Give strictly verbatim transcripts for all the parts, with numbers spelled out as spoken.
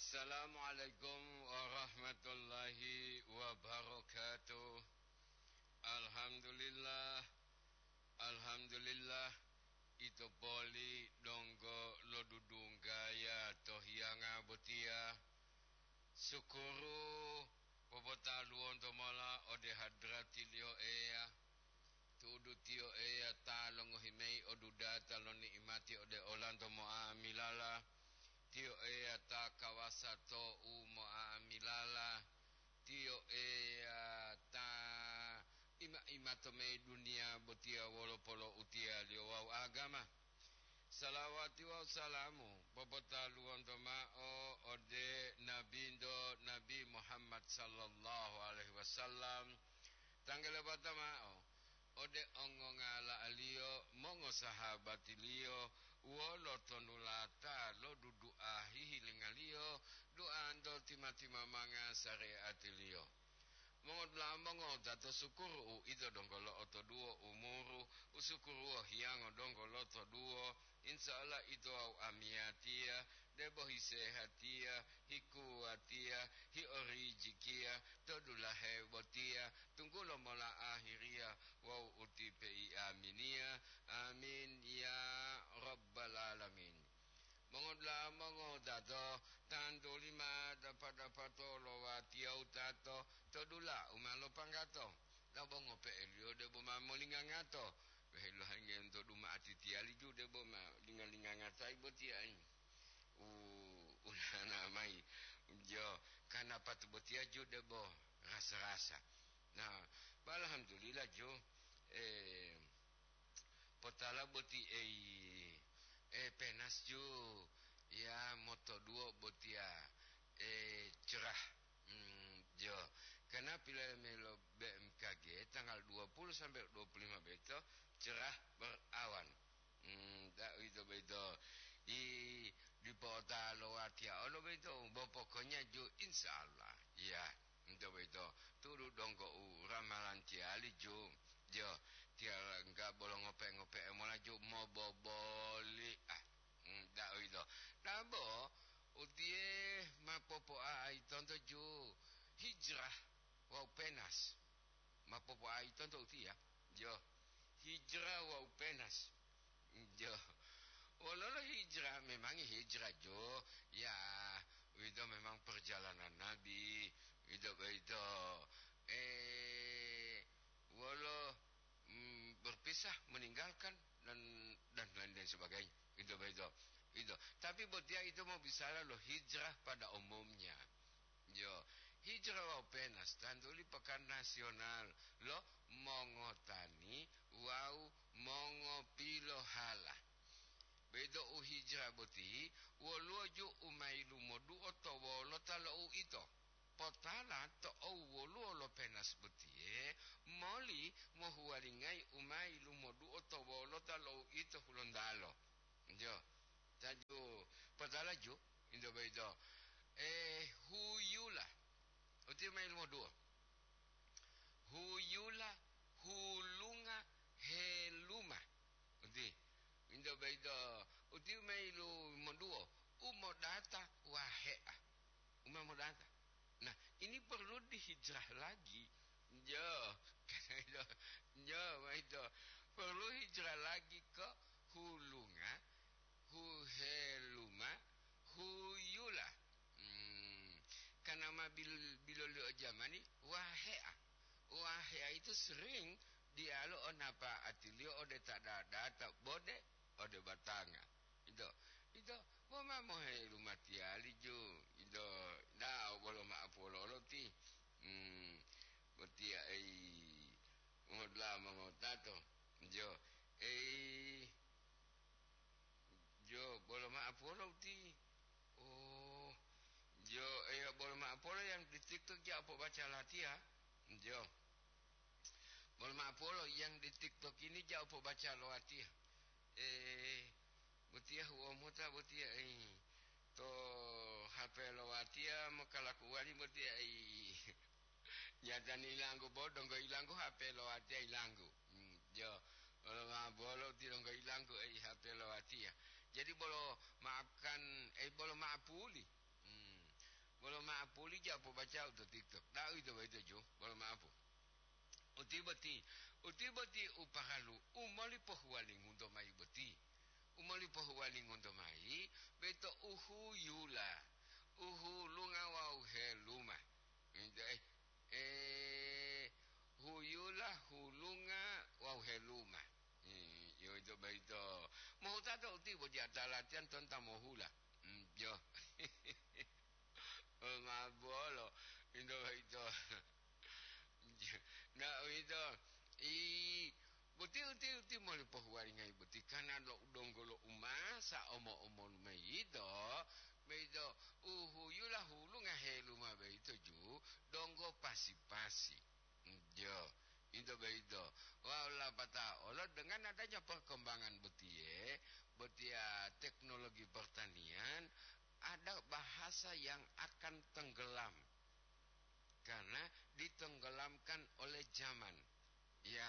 Assalamualaikum warahmatullahi wabarakatuh. Alhamdulillah, alhamdulillah, ito poli donggo lodudunggaya to hiyanga botiya. Sukuru popotaluwonto mola ode hadratiliyo Eya. Tu'udu Tiyo Eya ta longohi mayi odudata lo ni'imati ode olanto mo'amilala, Tiyo Eya ta kawasa to'u mo'amilala, Tiyo Eya ta ima-imato mayi duniya botiya wolo poloutiyaliyo wawu agama. Salawati wawu salamu popotaluwonto ma'o ode Nabinto Nabi Muhammad sallallahu alaihi wasallam, tanggalebata ma'o ode ongongala'aliyo, mongosahabatiliyo, wolo tonulata lo dudu'a hihilingaliyo, du'anto tima-timamanga sare'atiliyo. Mongodula'a mongowutato, sukuru uwito donggo lo'otoduwo umuru, usukuruwo hiyango donggo lotoduwo, insya Allah ito wawu amiyatiya, debo hisehatiya, hikuwatiya, hiorijikiya, to dulahe botiya, tunggulo mola ahiriya wawu utipe iaminiya. Amin ya rabbal alamin. Mongodula'a mongowutato, tantuli ma dapa-dapato lo watiya wutato to dula u ma lopanggato, dabo ngope'eliyo debo ma molingangato. Weheluhangento duma atitiyali ju debo ma linga-lingangatayi botiya, u, unana mayi. Jo, kanapatu botiya ju debo rasa-rasa. Nah, alhamdulillah ju, eh, potala boti ei, eh, penas ju, ya motoduwo botiya, eh, cerah. Hmm, jo, karena pilohe mayi lo B M K G tanggal dua puluh sampai dua puluh lima beto cerah berawan. Hmm, da, uwito boyito. I, dipo ota lo watiya olo boyito, bo pokoknya ju, insya Allah. Iya, uwito boyito. Tu'udu donggo u ramalantiyali ju. Jo, tiyangga bolo ngope-ngope'e mola ju moboboli. Ah, hmm, da uwito. Dabo, utiye ma popo'aitonto ju hijrah wawu penas. Ma popo'aitonto utiya. Jo, hijrah wawu penas. Jo. Wololo hijrah? Memangi hijrah jo. Ya, uwito memang perjalanan Nabi. Uwito boyito, eh, wolo, mm, berpisah, meninggalkan, dan, dan lain-lain sebagainya. Uwito boyito. Uwito. Tapi botiya ito mau bicara lo hijrah pada umumnya. Jo, hijrah wawu penas tantuli pakan nasional lo mongotani wawu mongopilohala. Boyito u hijrah boti, woluwo ju u ma yilumoduwo to wolota lo uwito. Potala to'u woluwo lo penas botiye moli mohuwalingayi u ma yilumoduwo to wolota lo uwito Hulontalo. Jo, taju, potala ju, into boyito, eh, huyula. Uti ma yilumoduwo. Huyula, hulunga, heluma. Uti, into boyito, uti ma yilumoduwo, u modata wahe'a. U ma modata. Nah, ini perlu dihijrah lagi. Jo, jo, ma ito. Perlu hijrah lagi ke hulunga, huheluma, huyula. Hmm, karena ma bil-, biloliyo jamani, wahe'a. Wahe'a itu sering diyalu o napa'atiliyo ode ta data, bode ode batanga. Ito, ito, bo ma mohe lumatiyali ju, ito, dao bolo ma'apuwolo-wolo ti. Hmm, botiya ei, ngohotla mongotato. Jo, ei, jo, bolo ma'apuwolo ti. Oh, jo, eya, bolo ma'apuwolo yang di TikTok ja pobaca latiya. Jo. Bolo ma'apuwolo yang di TikTok ini ja pobaca lo watiya. Eh, botiya huwomota botiya, eh, to H P lo watiya mokalakuwali botiya, eh. Nyatani ilanggu bo, donggo ilanggu H P lo watiya ilanggu. Hmm, jo. Bolo ma'apuwolo ti donggo ilanggu, eh, H P lo watiya. Jadi bolo maafkan, eh, bolo ma'apuli. Hmm. Bolo ma'apuli ja pobaca u to TikTok. Da'u ito boyito ju, bolo ma'apu. Uti boti, uti boti u paralu, u moli pohuwalingunto mayi boti. U moli pohuwalingunto mayi, beto u huyula, u hulunga wawu heluma. Ito, eh, eh, huyula, hulunga wawu heluma. Hmm, yo ito boyito. Mohutato uti boti ata latiyan tonta mohula. Hmm, yo. Oh, ma'apuwolo, ito boyito. Na uwito, i, boti uti, uti moli pohuwalingayi boti, karna lo donggo lo umasa omo-omolu mayi yito, boyito u huyula hulunga heluma boyito ju, donggo pasi-pasi. Jo, ito boyito. Wawu lapatao olo dengan adanya perkembangan botiye, botiya teknologi pertanian, ada bahasa yang akan tenggelam karena ditenggelamkan oleh zaman. Ya,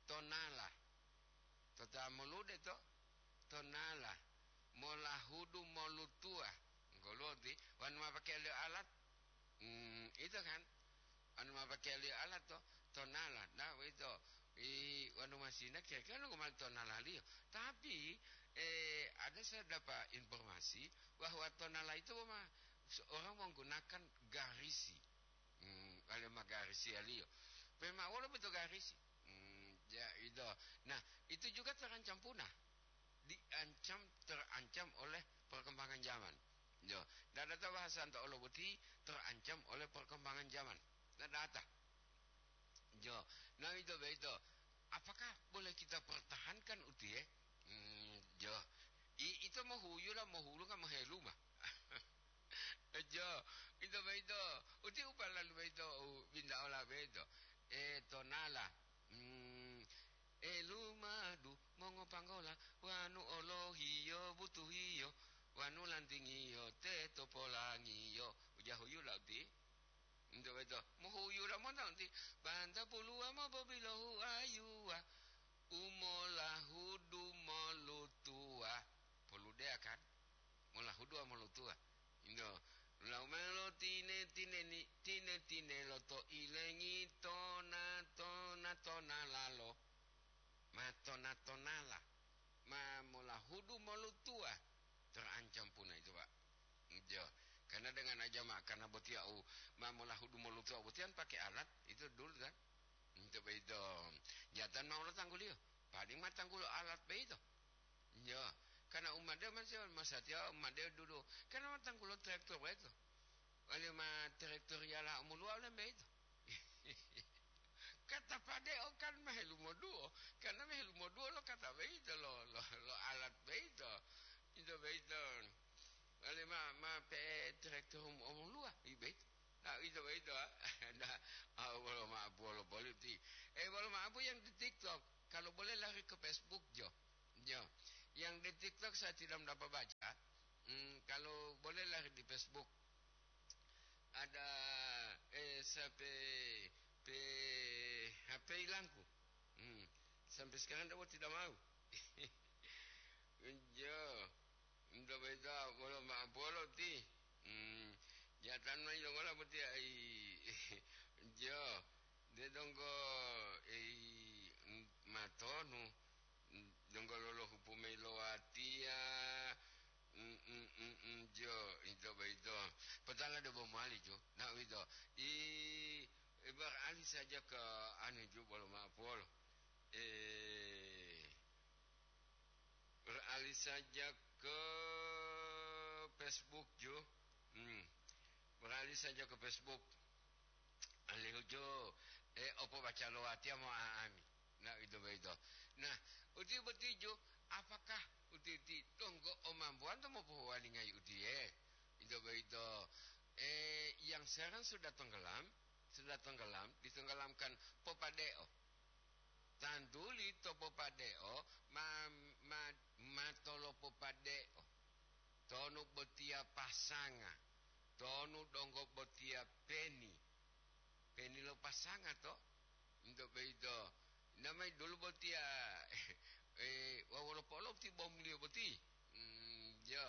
tonala. Tota molude to, tonala. Molahudu molutuwa. Ngoloti, wanu ma pakeya liyo alat? Hmm, ito kan? Wanu ma pakeya liyo alat to, tonala. Nah, boyito. I, wanu masina kira-kira nunggu mali tonalaliyo. Tapi, eh, ada saya dapat informasi bahwa tonala itu ma seorang menggunakan garisi. Hmm, wale ma garisiyaliyo. Pema wolo beto garisi. Hmm, ya, ito. Nah, itu juga terancam punah. Diancam, terancam oleh perkembangan zaman. Yo, dadata bahasanto olo boti terancam oleh perkembangan zaman. Dadata. Jo, nah, ito boyito. Apakah boleh kita pertahankan utiye? Hmm, jo. I, ito mohuyula, mohulunga, moheluma. Jo, ito boyito. Uti upalalu boyito, u bintaola boyito. E, tonala. Hmm, e lumadu mongopanggola, wanu olohiyo butuhiyo, wanu lantingiyo teto polangiyo. Uja huyula uti. Ento boyito, mohuyula mota nti, banta puluwa mopobilohu ayuwa, u molahudu molutuwa. Poludeya kan? Molahudu wawu molutuwa. Ento, laumelo tine-tineni, tine-tinelo to ilengi tona-tona-tonalalo. Ma tona-tonala, ma molahudu molutuwa, terancam punah itu, Pak. Jo, karena dengan aja ma-, karena botiya u ma molahudu molutuwa botiyan pakai alat itu dulu kan. Itu boyito. Jatan ma olo tangguliyo, paling ma tanggulo alat boyito. Jo, karena umade masih masatiya umade dulu. Karena ma tanggulo traktor boyito. Wale ma traktor yala umuluwa wale boyito. Kata pade'o kan ma helumoduwo, karena ma helumoduwo lo kata boyito, lo, lo, lo alat boyito. Ito boyito. Wale ma, ma pe'e traktor um-, omoluwa, i boyito. Nah, ito boyito, ah. Nah, ah, wolo ma bolo politi. Eh, wolo ma yang di TikTok. Kalau boleh lari ke Facebook, jo. Jo. Yang di TikTok saya tidak dapat baca. Hmm, kalau boleh lari di Facebook. Ada, eh, sampai pe-, H P hilangku. Hmm, sampai sekarang dia tidak mau. Jo, nto beta bolo ma bolo ti. Hmm, jatan mai longola boti ai. Jo, de donggo ei matonu. Donggo lolohupu mayi lo watiya. Mm, mm, mm, mm, jo, ito boyito. Potala debo mowali, jo. Na uwito. I, i beralih saja ke anu, jo, bolo ma'o polo. Eh, beralih saja ke Facebook, jo. Hmm. Beralih saja ke Facebook. Alihu jo, eh, opo baca lo watiya mo aami. Nah, ito boyito. Nah, uti boti jo, apakah uti-uti donggo o mambuwanto mopohuwalingayi utiye? Ito boyito. Eh, yang sekarang sudah tenggelam, sudah tenggelam, ditenggelamkan popade'o. Tantuli to popade'o ma, ma, matolopopade'o. Tonu botiya pasanga, tonu donggo botiya peni. Peni lo pasanga to? Into boyito. Namai dulu botiya, eh, wawolo polo ti bomliyo boti. Hmm, jo.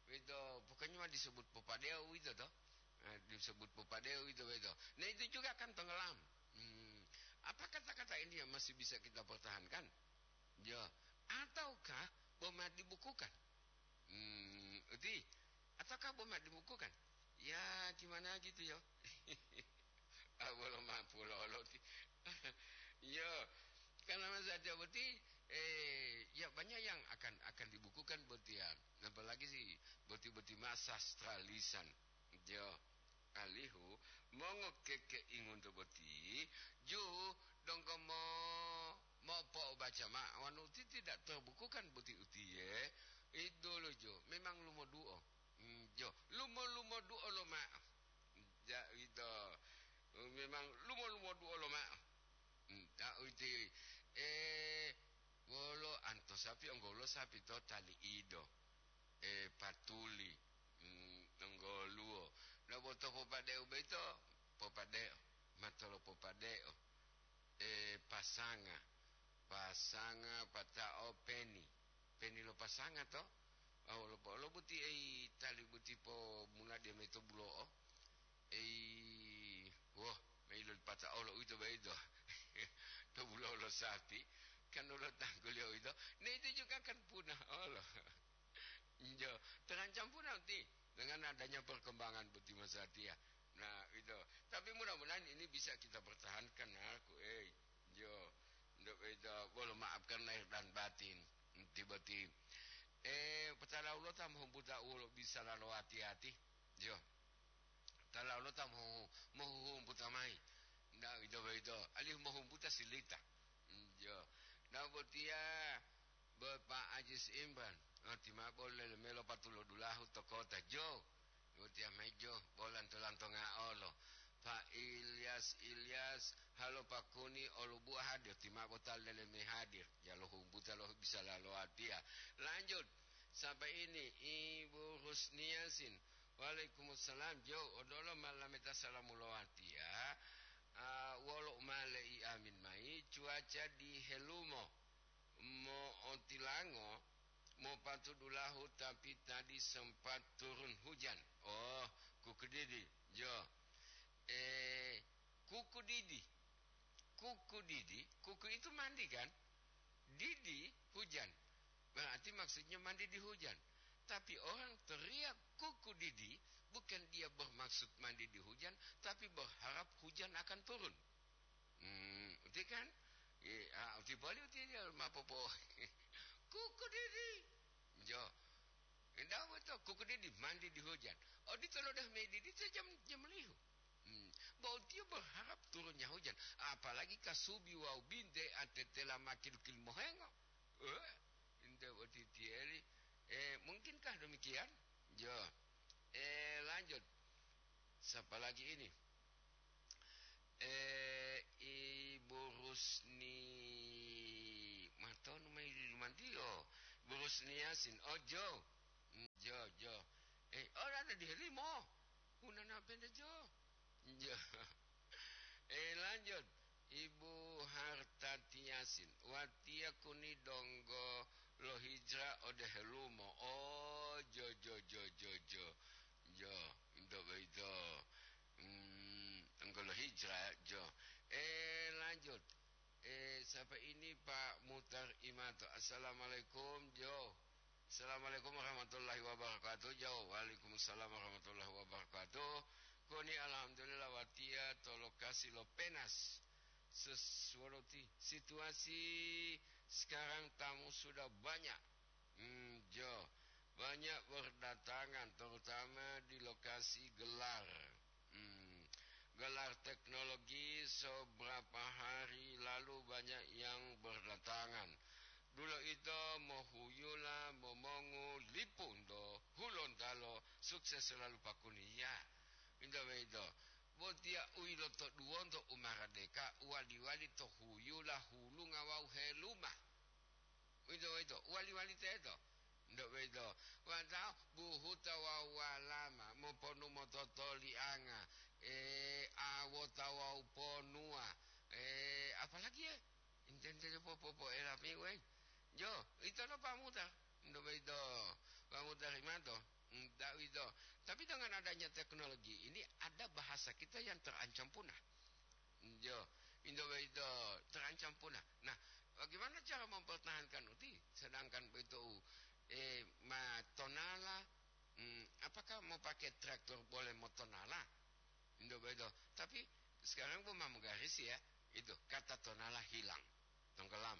Boyito, pokoknya disebut popadeo uwito to. Eh, disebut popadeo uwito, uwito. Nah, itu juga kan tenggelam. Hmm, apa kata-kata ini yang masih bisa kita pertahankan? Ya, ataukah boma dibukukan? Hmm, uti, ataukah boma dibukukan? Ya, gimana gitu ya? Awal mampu lolo ti. Ya, karena masa dia boti, eh, ya banyak yang akan, akan dibukukan boti ya. Apalagi si boti-boti ma sastralisan. Jo, alihu mongo keke ingunto boti, ju donggo mo, mopo'obaca ma, wanu uti tidak terbukukan boti utiye, idolo jo, memang lumoduo. Hmm, jo, lumo-lumoduo lo ma. Ja, ito, memang lumo-lumoduo lo ma. Hmm, ta uti, eh, wolo anto sapi, onggolo sapi to tali ido. Eh, patuli. Hmm, onggoluwo. Nah, bo to popadeo boyito, popadeo. Matolo popadeo. Eh, pasanga. Pasanga pata'o peni. Peni lo pasanga to? Oh, lo, lo buti ei tali buti po mula dia meto bulo'o. Ei, woh, mei lo pata'o lo uwito boyito. To bulo'o lo sapi. Kan lo tangguliyo uwito. Nah, itu juga kan punah olo. Injo, terancam punah uti dengan adanya perkembangan boti masatiya. Nah, itu. Tapi mudah-mudahan ini bisa kita pertahankan, aku, eh. Injo, untuk itu, bolo maafkan lahir dan batin. Inti boti. Eh, petala ulo ta mohumbuta ulo bisa lalo hati-hati. Jo. Tala ulo ta mohu-, mohuhumbuta mai. Nah, itu, itu. Alih mohumbuta silita. Injo. Nah, botiya, Bapak Ajis Imran, oh, ti mao bolo lele melo patulo dulahu to kota jo. Utiya mai jo, bolanto-lanto nga'olo. Pak Ilyas, Ilyas, halo Pak Kuni, olubuwa hadir, ti mao bota lele me hadir. Jalo humbuta lo bisa lalo watiya. Lanjut, sampai ini, Ibu Rusniasin. Waalaikumsalam, jo, odolo malameta salamu lo watiya. Ah, wolo umale i amin mai, cuaca di Helumo. Mo'otilango, mopatudulahu, tapi tadi sempat turun hujan. Oh, kuku didi, jo. Eh, kuku didi. Kuku didi, kuku itu mandi kan? Didi, hujan. Berarti maksudnya mandi di hujan. Tapi orang teriak kuku didi, bukan dia bermaksud mandi di hujan, tapi berharap hujan akan turun. Hmm, uti kan? Ye, ah, uti boli uti dia ma popo. Kuku didi. Jo. Indah betul, kuku didi mandi di hujan. Oh, di tolo dah medi di jam, jam lihu. Hmm. Bo uti berharap turunnya hujan. Apalagi kasubi wau binte atetela makil-kil mohengo. Eh, indah uti tieli. Eh, mungkinkah demikian? Jo. Eh, lanjut. Siapa lagi ini? Eh, Ibu Rusni, matonu mai di Lumantio. Ibu Rusni Yasin. Oh, Jo. Hmm, Jo, Jo. Eh, oh, ada di Helimo. Unana pende, Jo. Jo. Eh, lanjut. Ibu Hartati Yasin. Watiya kuni donggo lo hijrah ode Helumo. Oh, Jo, Jo, Jo, Jo, Jo. Jo, untuk begitu. Hmm, enggolo hijrah, Jo. Eh, lanjut. Eh, siapa ini, Pak Mutar Imato? Assalamualaikum, Jo. Assalamualaikum warahmatullahi wabarakatuh, Jo. Waalaikumsalam warahmatullahi wabarakatuh. Koni alhamdulillah watiya to lokasi lo Penas. Sesuatu ti-, situasi sekarang tamu sudah banyak. Hmm, Jo, banyak berdatangan, terutama di lokasi gelar. Hmm, gelar teknologi seberapa hari lalu banyak yang berdatangan. Dulo ito mohuyula momongu lipu nto Hulontalo, sukses selalu Pak Kuni. Ya, into beito. Botiya u ilotoduwonto u maradeka, uwali-wali to huyula hulunga wawu heluma. Uwito boyito, uwali-wali teto. Nto boyito, wata buhuta wawu walama, moponu mototolianga, e, awota wawu ponuwa, e, apalagi, e, intentele popopoela piwe. Jo, ito lo pamuta. Nto boyito, pamuta rimato. Nta uwito, adanya teknologi ini ada bahasa kita yang terancam punah. Yo, indo boyito terancam punah. Nah, bagaimana cara mempertahankan uti? Sedangkan boyito u, eh, ma tonala, hmm, apakah mau pakai traktor boleh mau tonala? Indo boyito. Tapi sekarang bu ma mogaris ya, itu kata tonala hilang, tenggelam.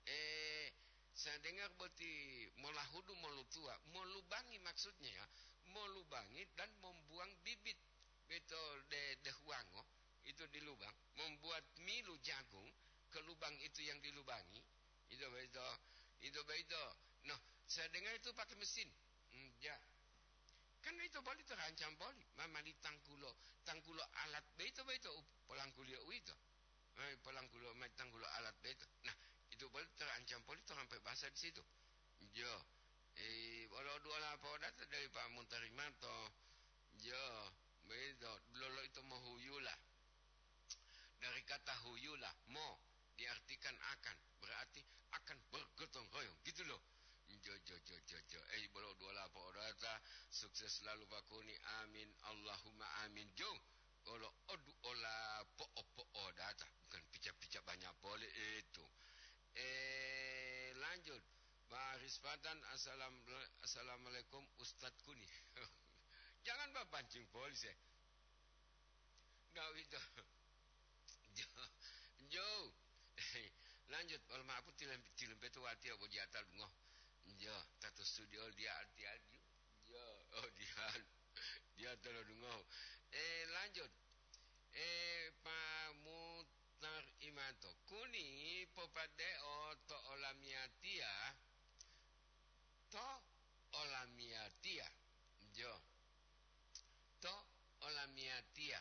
Eh, saya dengar boti molahudu molutua, molubangi maksudnya ya, molubangi dan membuang bibit beto de, de huango itu di lubang, membuat milu jagung ke lubang itu yang dilubangi, itu beto, itu beto. Nah, saya dengar itu pakai mesin. Hmm, ya. Kan itu boli terancam boli, mamali tangkulo, tangkulo alat beto beto u-, polangkuliyo uwito. Eh, polangkulo mai tanggulo alat beto. Nah, itu boli terancam poli to sampai bahasa di situ. Jo, eh, wolo dua lapo data dari Pak Muntarimanto. Jo, begitu. Lolo itu mohuyula. Dari kata huyula, mo, diartikan akan. Berarti akan bergotong royong. Gitu loh. Jo, jo, jo, jo, jo. Eh, bolo dua lapo data. Sukses selalu Pak Kuni. Amin. Allahumma amin. Jo. Olo odu ola po'o-po'o data, bukan pica-pica banyak pole itu. Eh, lanjut. Pak Rispatan, assalam-, assalamualaikum Ustadz Kuni. Jangan ba pancing polis ya. Nggak itu. Jo, jo. Lanjut, kalau maaf tilem-, tilempetu wati ya bojiatal dungo. Jo, tato studio dia arti aju. Ya, oh, dia, dia tolodungohu. Eh, lanjut. Eh, Pak Mutar Imanto, Kuni popade'o to olamiyatiya, to olamiyatiya. Jo. To olamiyatiya.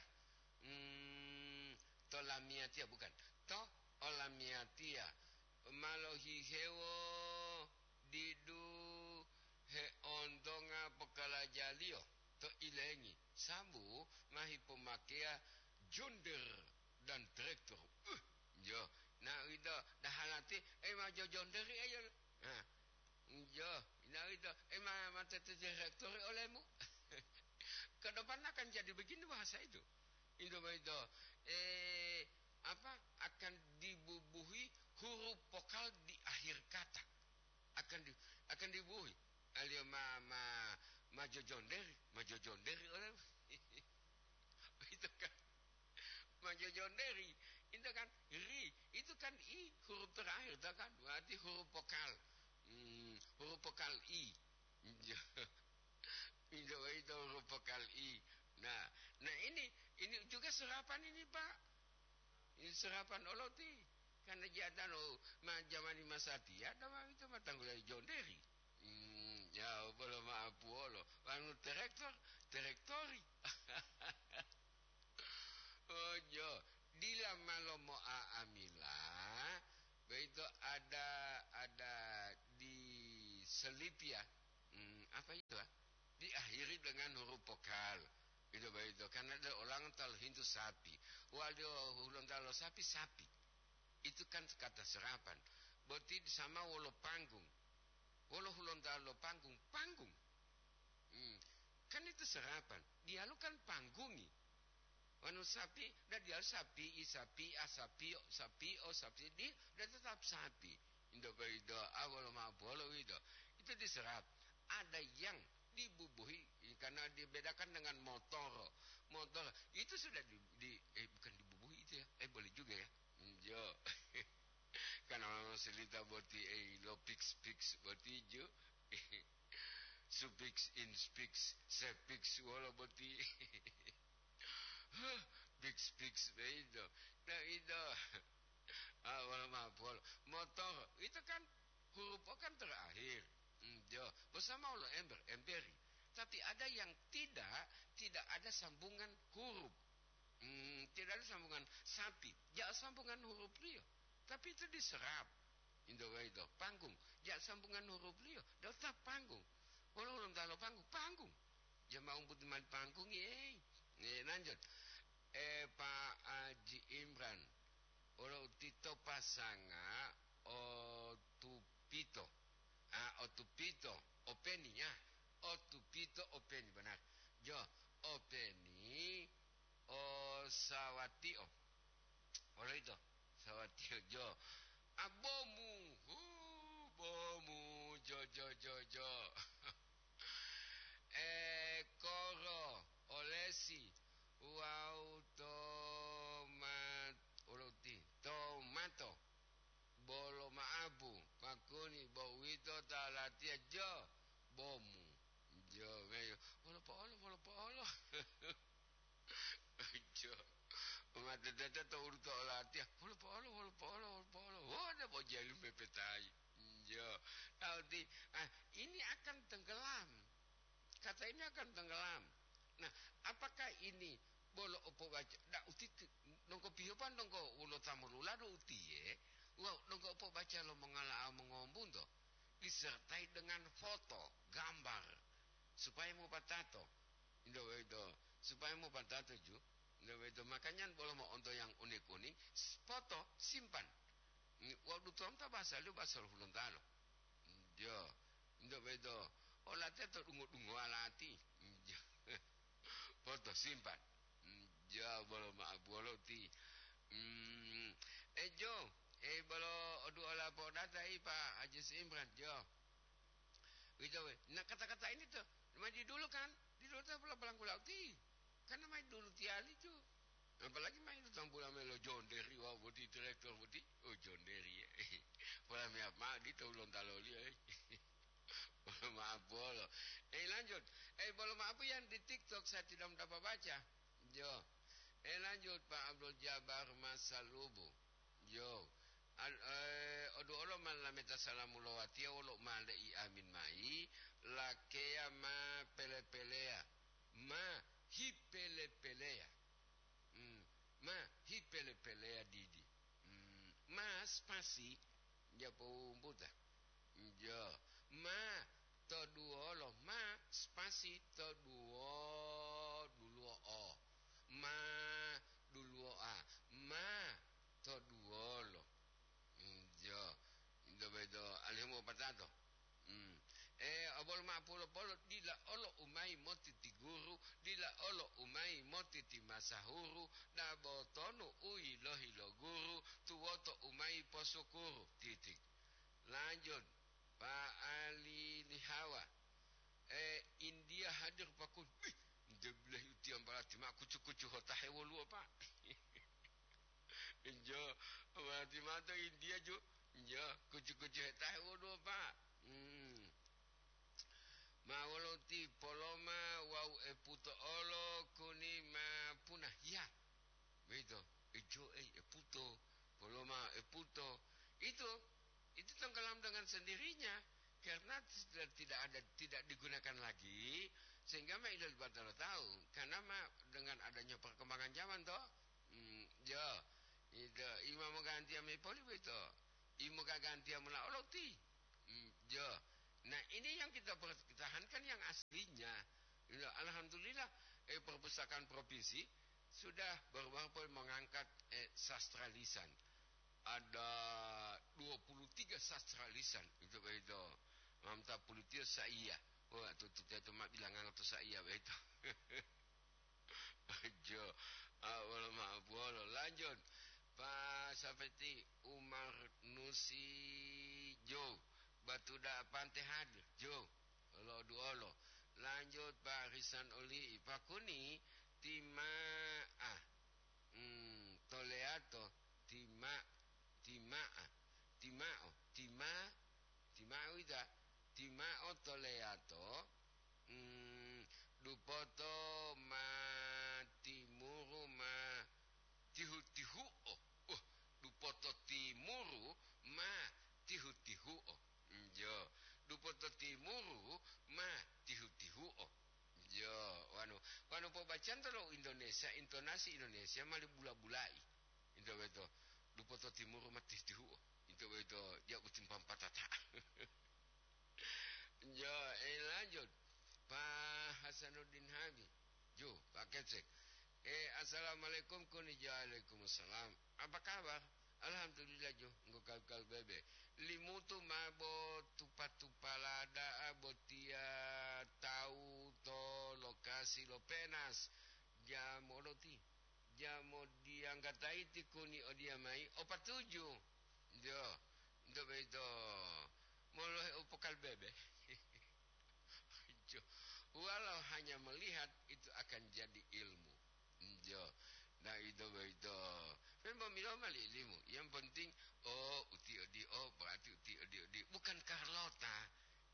Hmm, to lamiyatiya, bukan. To olamiyatiya. Ma lohihewo didu heontonga pokalajaliyo to ilengi, sambu ma hipomakeya jonder dan traktor. Uh, jo, na uwito dahalati, eh, ma jojonderi eyo. Nah, jo, na uwito, eh, ma, ma tete direktori olemu. Ke depan akan jadi begini bahasa itu. Itu begitu. Eh, apa, akan dibubuhi huruf vokal di akhir kata. Akan di, akan dibubuhi. Aliyo ma, ma, ma jojonderi, ma jojonderi oleh. Itu kan. Ma jojonderi. Itu kan ri. Itu kan i huruf terakhir, itu kan. Berarti huruf vokal. Hmm, huruf vokal i. Itu, itu huruf vokal i. Nah, nah ini, ini juga serapan ini, Pak. Ini serapan oloti. Karena jatano ma jamani masatiya, dama itu ma tanggula jonderi. Hmm, ya, bolo maapuolo. Anu terektor, terektori. Oh, jo. Dila malo mo'a'amila, begitu ada, ada di selip ya. Hmm, apa itu, ah? Diakhiri dengan huruf vokal. Itu begitu. Karena ada orang talu hintu sapi. Waduh, ulun talu sapi, sapi. Itu kan kata serapan. Berarti sama wolo panggung. Wolo hulontalo panggung, panggung. Hmm. Kan itu serapan. Dialu kan panggungi. Wanu sapi, da dialu sapi, i sapi, a sapi, o sapi, o sapi, di, da tetap sapi. Indo baido, awal ma bolo wido. Itu diserap. Ada yang dibubuhi, karena dibedakan dengan motor. Motor itu sudah di, di eh, bukan dibubuhi itu ya. Eh, boleh juga ya. Njo. Kan orang selita boti, eh, lo pix-pix boti jo. Supix, inspix, sepix, wolo boti. Pix-pix, begitu. Nah, itu. Ah, wolo mapol. Motor, itu kan huruf O kan terakhir. Njo. Bersama wolo ember, emberi. Tapi ada yang tidak, tidak ada sambungan huruf. Hmm, tidak ada sambungan sapi. Ja sambungan huruf liyo. Tapi itu diserap. Indo waido, panggung. Ja sambungan huruf liyo. Da tetap panggung. Wolo hulontalo panggung, panggung. Ja ma umbuti mali panggung, eh. Eh, lanjut. Eh, Pak Haji Imran. Wolo utito pasanga, o tupito. Ah, o tupito, openi, ya. O tupito, openi, benar. Jo, Sawatiyo. Wolo ito? Sawatiyo jo. A, bomu. Hu, bomu. Jo, jo, jo, jo. E, koro, olesi. Wawu tomat-, wolo uti? Tomato. Bolo ma'apu. Pakuni, bo uwito ta latiya jo. Bomu. Jo, meyo. Wolo po'olo, wolo po'olo. Jo. Umatete to ulu to olatiya. Wolo po'olo, wolo po'olo, wolo po'olo. Wona bo jalu mepetayi. Jo. Tauti, ah, ini akan tenggelam. Kata ini akan tenggelam. Nah, apakah ini bolo opobaca? Da uti nongko piyopan nongko ulo tamolula do utiye. Wow, nongko opobaca lo mongala'a mongombunto. Disertai dengan foto, gambar. Supaya mopatato. Indo wedo. Supaya mopatato ju. Indo wedo. Makanya bolo mo'onto yang unik-unik, s-, foto, simpan. Ni, wawu dutomu ta bahasa liyo bahasa lo Hulontalo. Jo, ndo bedo. Olatiya to dungo-dungowa lati. Jo. Foto simpan. Jo, bolo ma'abuwolo ti. Hmm, e jo, e bolo oduola podata i Pa Haji Imran, jo. Wito we. Nah, kata-kata ini to, ma di dulu kan, di dulu to pula balangkula uti. Kan ma di dulu tiali ju. Apalagi main utang bola melo John Deere wawu boti traktor boti. Oh, John Deere, ya. Bola me apa di tahu lontaloli, ya. Maaf bolo. Eh, lanjut. Eh, bolo maaf yang di TikTok saya tidak dapat baca. Jo. Eh, lanjut, Pak Abdul Jabar Masalubu. Jo. Al-, eh, oduolo ma lameta salamu lowatiya wolo ma le'i amin mayi, lakeya ma pele-peleya, ma hipele-peleya. Hmm, ma hipele-peleya didi. Hmm, ma spasi, ja powumbuta. Jo, ma to duwolo, ma spasi to duwo, duluwo o. Ma duluwo a, ma to duwolo. Mm, jo, ito boyito alihu mopatato. Mm. E, obolo ma'o polo-polo, dila olo umayi moti ti guru, dila olo umayi moti ti masahuru, dabo tonu u yilohi lo guru, tuwoto umayi posukuru. Titik. Lanjut, Pak Ali Lihawa. E, India hadir pakun. Wih, nde bilahi utiya mbalati ma kucu-kucu hotahe woluwo, Pak. Injo, mbalati mato India ju. Injo, kucu-kucu hetahe woluwo, Pak. Hmm. Ma wolo ti Poloma wawu Eputo olo kuni ma punah. Ya. Begitu. Ijo, eh, Eputo. Poloma, Eputo. Itu, itu tenggelam dengan sendirinya. Karena sudah tidak ada, tidak digunakan lagi. Sehingga ma ilal batalo tahu. Karena ma dengan adanya perkembangan zaman, toh. Hmm, ya. Itu, imam ganti ame poli begitu. Imo gagantiya mula oloti. Hmm, jo. Nah, ini yang kita pertahankan yang aslinya. Ya, alhamdulillah, eh, perpustakaan provinsi sudah baru-baru pun mengangkat, eh, sastra lisan. Ada dua puluh tiga sastra lisan. Itu, itu. Mamta pulitiyo saiya. Wah, tutup itu ma bilangan to saiya, begitu. Jo, ah, wolo ma'o buwolo. Lanjut, Pak Safeti Umar Nusi Jo, Batuda Pante hadir, Jo, olo duolo. Lanjut, Pak Risan Oli, Pakuni, Tima'a, hmm, Toleato, Tima, Tima'a, Tima'o, Tima, Tima'o ita, Tima'o Toleato, mm, dupoto ma timuru ma tihu-tihu'o. Uh, dupoto timuru ma tihu-tihu'o. Njo, dupoto timuru ma tihu-tihu'o. Jo, wanu, wanu pobacanto lo Indonesia, intonasi Indonesia mali bula-bulai. Into beto, dupoto timuru ma tihu-tihu'o. Into beto, ja utimpam patata. Jo, eh, lanjut. Pak Hasanuddin Habi. Jo, Pak Kecek. Eh, assalamualaikum, kuni jo, waalaikumsalam. Apa kabar? Alhamdulillah, jo, nggo kal-kal bebe. Limutu ma bo tupa-tupala da'a botiya tawu to lokasi lo penas. Jam oloti. Jamo diyanggatayi tikuni odiya mayi, o patuju. Njo, nto boyito molohe u pokal bebe. Jo, walau hanya melihat itu akan jadi ilmu. Njo, nah, ito boyito. Memang milo mali ilimu. Yang penting, oh, uti odi, oh, berarti uti odi, odi. Bukan Carlota.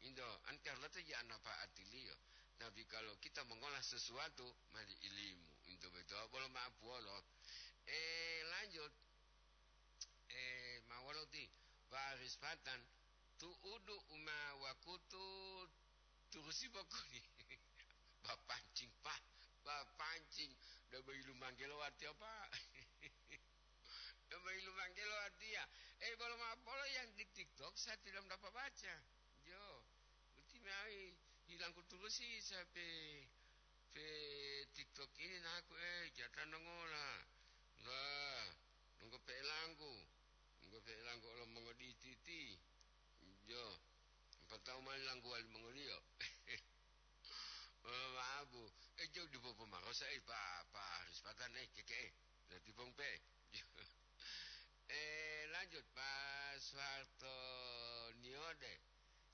Indo, an Carlota ya napaatiliyo. Tapi kalau kita mengolah sesuatu, mali ilimu. Into beto, bolo maaf wolo. Eh, lanjut. Eh, ma wolo ti, Pak Aris Patan, tu'udu uma wakutu turusi bokoni. Bapancing, Pak. Bapancing. Udah bayi lumanggelo arti apa? Udah bayi lumanggelo artinya. Eh, bolo maaf, bolo yang di TikTok saya tidak dapat baca. Jo, berarti mai hilang kulturusi saya pe, pe TikTok ini naku, eh, jatan nongola. Lah, nunggu pe langku. Nunggu pe langku lo mongoditi-ti. Jo, empat tahun mali langku wali mongoliyo. Oh, maaf, Bu. Eh, jauh di popo marosa, eh, Pak, Pak Haris Patan, eh, keke, eh. Nanti pong pe. Eh, lanjut, Pak Soeharto Niode.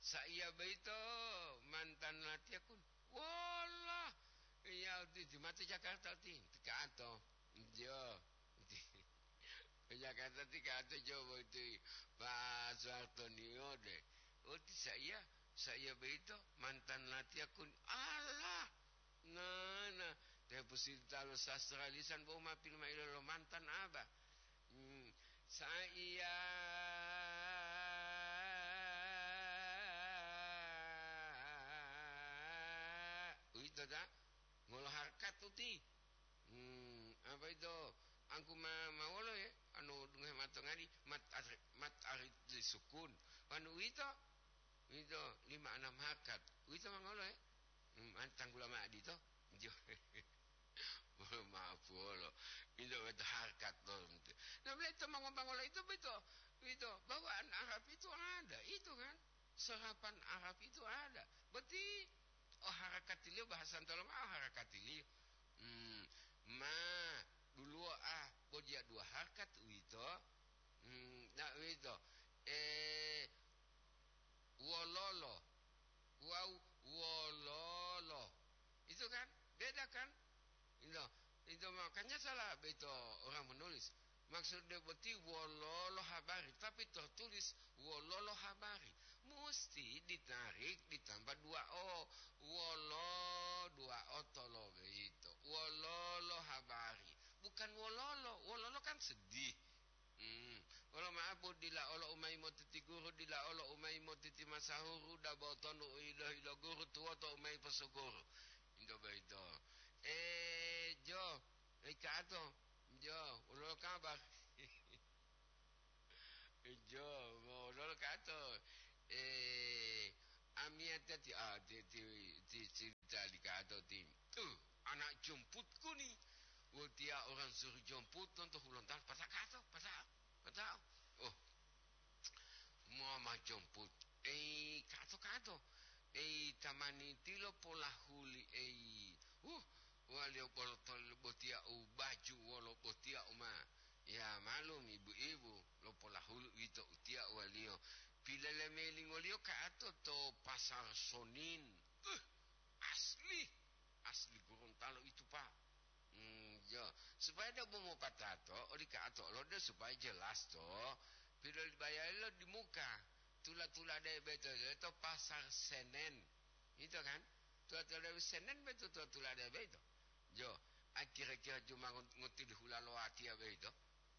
Saiya boyito mantan latiya kun. Wallah. Iya, uti, uti mate Jakarta, uti. Tikato. Jo. Uti. Jakarta tikato, jo, uti. Pak Soeharto Niode. Uti saiya, saiya boyito mantan latiya kun. Allah. Nah, nah. Te pusita lo sastra lisan bo ma pilma ilo lo mantan aba. Hmm. Saiya. Uwito ta? Ngolo harkat uti. Hmm, apa ito? Angku ma, ma wolo ya? Anu dungohe matongadi, mat ar-, mat arit di sukun. Anu uwito? Uwito lima anam harkat. Uwito ma ngolo ya? Hmm, an tanggula ma adito? Jo. Maaf wolo. Ito beto harkat to. Nah, beli to mangobangolo itu beto. Uwito, bawaan Arab itu ada, itu kan? Serapan Arab itu ada. Berarti, oh, harakatiliyo, bahasa ntolonga, oh, harakatiliyo. Hmm, ma, duluwo, ah, bo diya dua harkat uwito. Hmm, nah, uwito. Eh, wololo. Wawu wololo. Itu kan? Beda kan? Itu, itu makanya salah beto orang menulis. Maksudnya boti wololo habari, tapi tertulis wololo habari. Musti ditarik ditambah dua o. Wolo dua o tolo beito. Wololo habari. Bukan wololo. Wololo kan sedih. Hmm. Wolo ma'apu dila olo umayi motiti guru, dila olo umayi motiti masahuru, dabo tonu u ilo-ilo guru, tuwoto umayi posuguru. Into boyito. Eh, jo, ikato, jo, wolo kabar. Jo, wolo kato. Eh, amiyata ti, ah, ti, ti, ti, ti, Tali kato ti, "Uh, anak jemputku ni. Wotiya orang suruh jemput lonto Hulontalo. Pata kato, pata, pata. Oh, mama jemput. Ei, kato, kato. Ei, tamani tilo polahuli, ei. Uh, waliyo bolo tol-, botiya u baju wolo botiya uma. Ya, malum, ibu-ibu, lo polahuli uwito utiya waliyo. Pilele melingoliyo kato to Pasar Sonin." Uh, Asli, asli Gorontalo itu, Pak. Hmm, jo. Supaya dia mau mopatato, oli kato lo dia supaya jelas to. Piro dibayari lo di muka. Tula-tula de beto, beto Pasar Senen. Itu kan? Tula-tula de Senen beto, tula-tula de beto. Jo, a kira-kira cuma ngot-, ngotili hula lo watiya beto.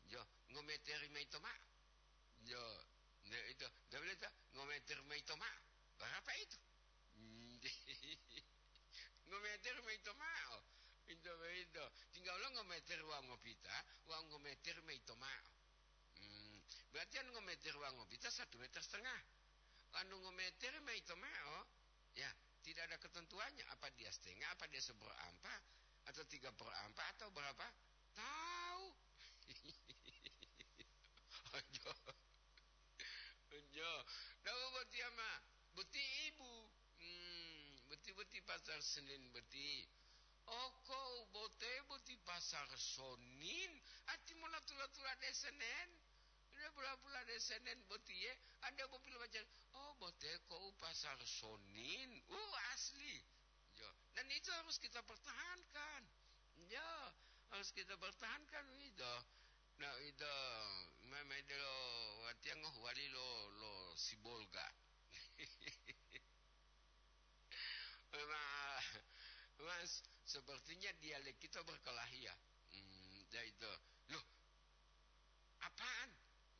Jo, ngometeri mayi to ma. Jo, ne itu, dia bilang, "Ngometer mayi to ma." Berapa itu? Hmm, ngometer mayi to ma'o. Pinto boyito. Tingga wolo ngometer wawu ngopita, wawu ngometer mayi to ma'o. Hmm, berarti anu ngometer wawu ngopita satu meter setengah. Anu ngometer mayi to ma'o, ya, tidak ada ketentuannya. Apa dia setengah, apa dia seperempat, atau tiga perempat, atau berapa? Tahu. Ojo. Ojo. Tahu berarti ama? Berarti ibu. Hmm, boti-boti Pasar Senin boti. Oko bote boti pasar Sonin, ati mona tula-tula de Senen. Ide pula-pula de Senen botiye, ande bo pilomajari, "Oh, bote kou pasar Sonin." Uh, asli. Yo, dan itu harus kita pertahankan. Ya, harus kita pertahankan itu. Nah, itu memang itu lo, artinya ngoh wali lo, lo sibolga. Memang, Mas, sepertinya dialek kita berkelahi ya. Hmm, ya itu. Loh, apaan?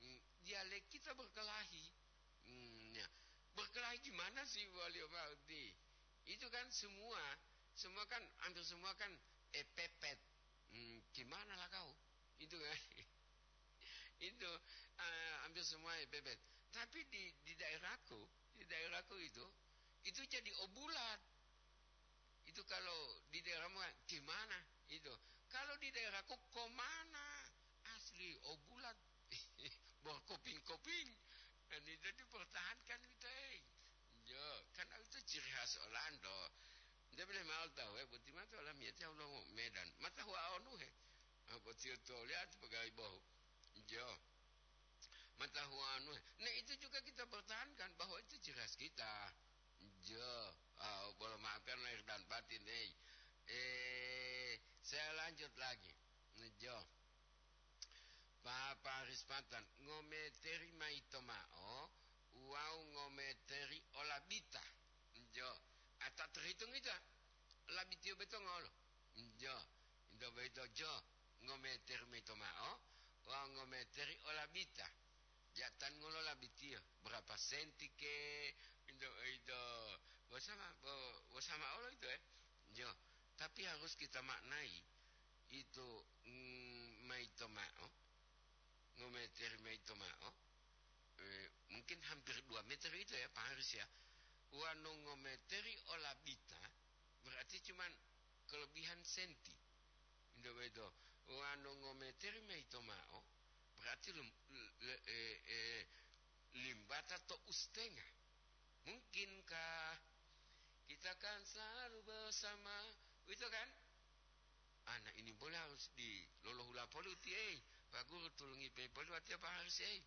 Hmm, dialek kita berkelahi. Hmm, ya. Berkelahi gimana sih, Wali Mauti? Itu kan semua, semua kan, hampir semua kan, eh, pepet. Hmm, gimana lah kau? Itu kan. Itu, eh, hampir semua pepet. Tapi di, di daerahku, di daerahku itu, itu jadi obulat. Itu kalau di daerahmu kan, gimana? Itu. Kalau di daerahku, komana? Asli, obulat. Berkoping-koping. Dan itu dipertahankan gitu, eh. Yo, karena itu ciri khas Olando. Dia boleh mau tahu, eh, boti mata olam ya, tahu lo Medan. Mata hua onu, he. Ah, boti itu lihat pegawai bohu. Jo. Mata hua onu, he. Nah, itu juga kita pertahankan bahwa itu ciri khas kita. Jo. Ah, boleh maafkan lahir dan batin, eh. Eh, saya lanjut lagi. Jo. Papa Rispatan, ngometeri maito ma'o, wawu ngometeri olabita. Jo, ata terhitung ita, labitiyo beto ngolo. Jo, ito boyito jo, ngometeri maito ma'o, wawu ngometeri olabita. Jatan ngolo labitiyo, berapa senti ke, ito, ito, bosama, bo-, bosama olo ito, eh. Jo, tapi harus kita maknai, itu, mm, maito ma'o, ngometeri maito ma'o, eh, mungkin hampir dua meter itu ya, Pak Haris ya. Wanu ngometeri olabita, berarti cuman kelebihan senti. Indah beto. Wanu ngometeri maito ma'o, berarti lem-, le-, eh, eh, limbata to ustenga. Mungkinkah kita kan selalu bersama? Itu kan? Anak ini boleh harus di lolohula poli uti, eh. Pak Guru tulungi pe poli watiya Pak Haris, eh.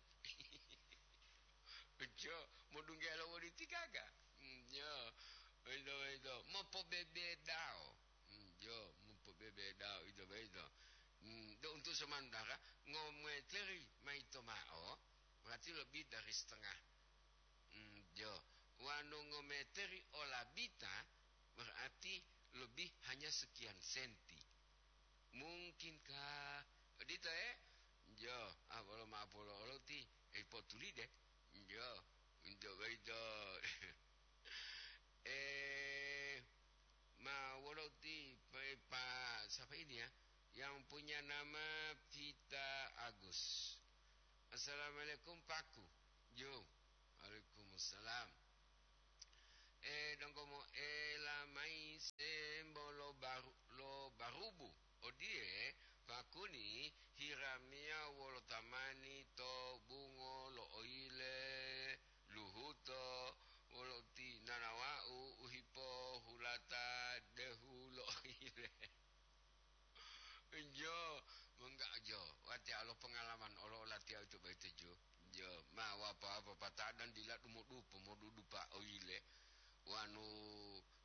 Jo, modunggelo woli tigaga. Hmm, jo. Itu, itu. Mopobebedao. Hmm, jo, mopobebedao, itu, itu. Hmm, do untuk sementara, ngometeri maito ma'o, berarti lebih dari setengah. Hmm, jo. Wanu ngometeri olabita, berarti lebih hanya sekian senti. Mungkinkah? Odito, eh? Jo, ah, bolo ma'o polo olo ti, eh, potuli de. Jo, untuk itu. Eh, ma wolo ti, pa, pa, siapa ini ya? Yang punya nama Vita Agus. Assalamualaikum, Paku. Jo. Waalaikumsalam. Eh, donggo moela mayi sembo lo baru-, lo barubu. Odiye, pakuni hiramiya wolo tamani to bungo lo oyile, luhuto, wolo ti nanawa'u u hipohulata dehu lo oyile. Jo, mongga jo, watiya lo pengalaman olo olatiya utu boyito jo. Jo, ma wapa-wapa patadan dila dumodupo, modudupa oyile. Wanu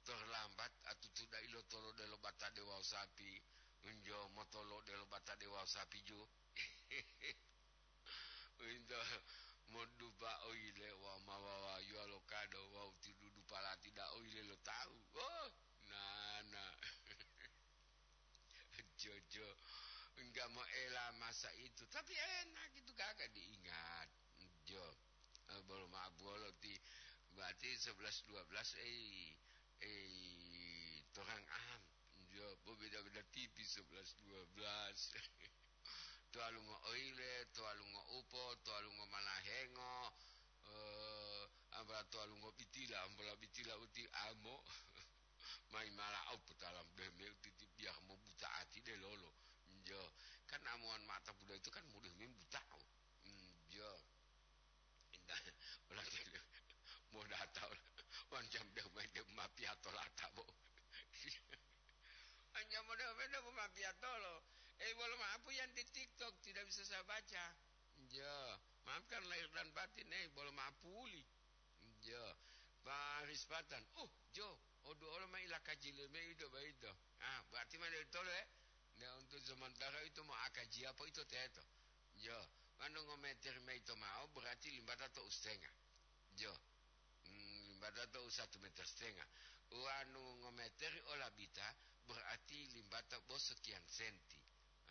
terlambat, atutu dai lo tolode lo batade wawu sapi. Jo, motolode lo batade wawu sapi jo. Winto modupa oyile wa mawawa yuwa lo kado wawu tidudu palati da oyile lo tawu. Oh, nana. Jojo, enggak mau ela masa itu, tapi enak itu kagak diingat. Jo, eh, belum maaf bolo ti, berarti sebelas dua belas, eh, eh, torang am. Jo, berbeda-beda tipis sebelas dua belas. Tualungo oile, tualungo upo, tualungo malahengo, eh, apa tualungo bitila, ambola bitila uti amo. Mai mala au putalam deh me uti ti biar mo buta ati deh lolo. Jo, kan amuan mata buda itu kan mudah main buta. Hmm, jo. Indah, ulah mo data, wan jam deh main deh mapi atau lata, bo. Biatolo. Eh, bolo maapu yang di TikTok tidak bisa saya baca. Jo, maafkan lahir dan batin, eh, bolo maapu uli. Jo, Pak Rispatan. Uh, jo, odu olo ma ila kaji leme ito baito. Ah, berarti mana itu, eh? Nah, untuk sementara itu mau akaji apa itu teto? Jo, manu ngometer maito mau berarti limbata to ustenga. Jo. Hmm, limbata to satu meter setengah. Wanu ngometeri olabita, berarti limbata bo sekian senti.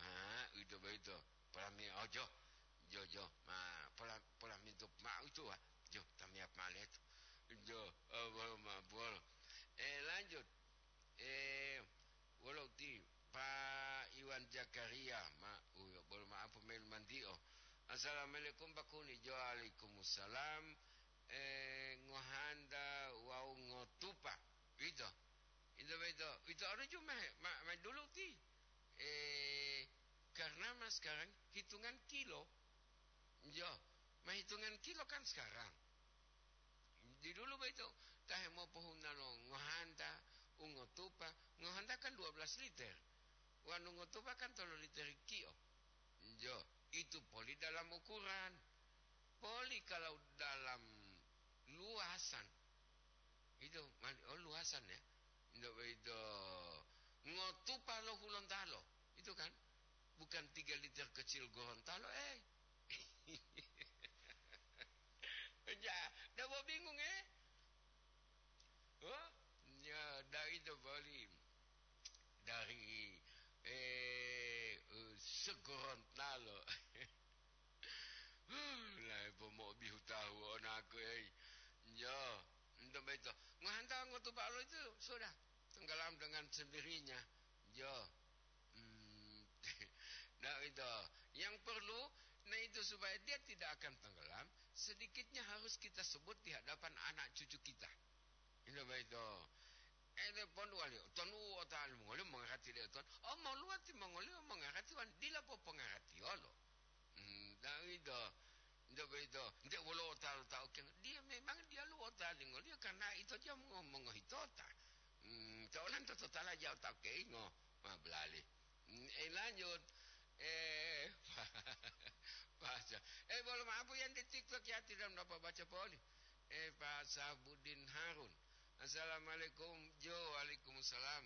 Ah, uwito boyito. Polami ojo. Jo, jo. Ma, pola, pola mintu ma uwito wa. Jo, tamiya ma leto. Jo, oh, ma bol. Eh, lanjut. Eh, wolo uti, Pak Iwan Zakaria, ma, uyo, bolo maapu melu mantiyo. Assalamualaikum, Pak Kuni. Jo, waalaikumsalam. Eh, ngohanta wawu ngotupa. Ito. Ito, ito. Ito, aduh, cuma, ma, ma dulu ti. Eh, karena ma sekarang hitungan kilo. Jo, ma hitungan kilo kan sekarang. Di dulu boyito, ta hemopohuna lo ngohanta, u ngotupa, ngohanta kan dua belas liter. Wanu ngotupa kan tolu liter kio. Jo, itu poli dalam ukuran. Poli kalau dalam luasan, itu mani, oh, luasan ya. Ndak boyito ngotupa lo Hulontalo. Itu kan bukan tiga liter kecil Gorontalo, eh. Ja, ndak mau bingung, eh? Oh, ya, dari itu boli. Dari, eh, eh, Segorontalo. Lah, po mo bihu tahu onaku, eh. Yo, untuk begitu. Ngohanta ngotupa lo itu sudah tenggelam dengan sendirinya. Yo. Hmm, nah, itu. Yang perlu, nah, itu supaya dia tidak akan tenggelam, sedikitnya harus kita sebut di hadapan anak cucu kita. Itu begitu. Eh, pon wali, ton u otalu mongoli mongarati de ton. Oh, moluwati mongoli mongarati wan dila popongaratiyolo. Hmm, nah, itu. Nde boyito, nde wolo otalu ta ukeng. Dia memang dia lu otalingo dia karena ito dia mongo-, mongohitota. Hmm, to olanto totala jao ta ukeingo, ma belali. Hmm, eh, lanjut. Eh, Pak, eh, bolo maapu yang di TikTok ya, tidak dapat baca poli. Eh, Pak Sabudin Harun. Assalamualaikum, Jo. Waalaikumsalam.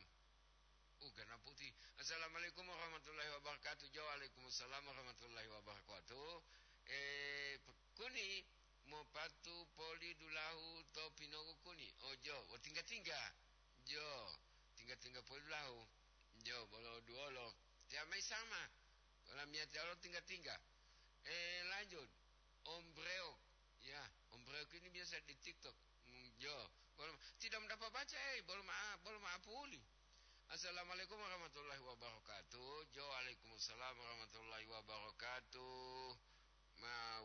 Ugana putih. Assalamualaikum warahmatullahi wabarakatuh. Jo, waalaikumsalam warahmatullahi wabarakatuh. Eh, p-, kuni, mopatu poli dulahu to pinogu kuni. Oh, jo, wo tingga-tingga. Jo, tingga-tingga poli dulahu. Jo, bolo duolo. Tiamai sama. Olamiyatiya lo tingga-tingga. Eh, lanjut. Om Breok. Ya, Om Breok ini biasa di TikTok. Hmm, jo. Bolo, tidak mendapat baca, eh. Bolo ma-, bolo maapu uli. Assalamualaikum warahmatullahi wabarakatuh. Jo, waalaikumsalam warahmatullahi wabarakatuh. Ma-,